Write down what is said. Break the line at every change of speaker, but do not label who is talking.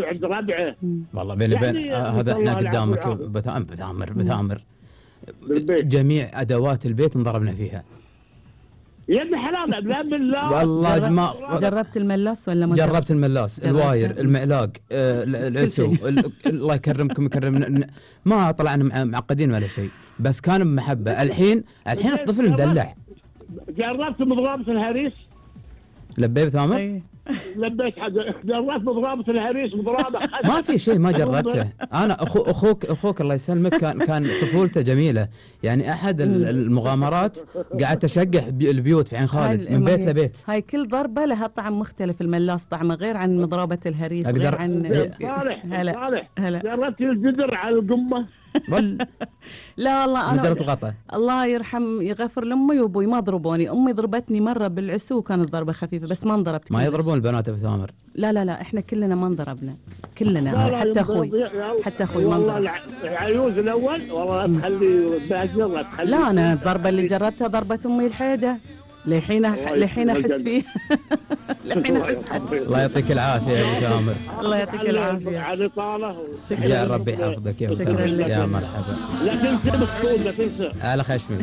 عند ربعه.
والله بيني وبين
يعني
هذا احنا
الله العفو
قدامك
والعافية.
بثامر
بالبيت.
جميع ادوات البيت انضربنا فيها.
يا ابن حلال لا بالله.
والله ما
جربت الملاس ولا ما
جربت الملاس، الواير،
جربته؟
المعلاق، العسو، الله يكرمكم يكرمنا. ما طلعنا معقدين ولا شيء، بس كان بمحبه. الحين الطفل مدلع.
جربت مضربة الهريس؟
لبيت ثامر؟
أي.
لبيت حاجة. جربت مضربة الهريس مضربة.
ما في شيء ما جربته. انا اخوك الله يسلمك كان طفولته جميله، يعني احد المغامرات قعدت اشقح البيوت في عين خالد من بيت لبيت.
هاي كل ضربه لها طعم مختلف، الملاس طعمه غير عن مضربه الهريس، غير عن
صالح
هلا هلا.
جربت الجدر على القمه؟
لا والله انا
مجرد الغطا.
الله يغفر لامي وابوي ما ضربوني، امي ضربتني مره بالعسو وكانت ضربه خفيفه بس ما انضربت.
ما يضربون البنات ابو ثامر؟
لا احنا كلنا ما انضربنا كلنا، حتى اخوي ما انضرب.
والله العيوز الاول والله لا تخلي باجر لا تخلي.
لا انا الضربه اللي جربتها ضربه امي الحيده لحين احس فيه. لحين احس.
الله يعطيك العافيه يا ابو ثامر.
الله يعطيك العافيه
على طاله.
يا رب يحفظك يا ابو ثامر. يا مرحبا.
لا تنسى بالطول لا تنسى.
على خشمي.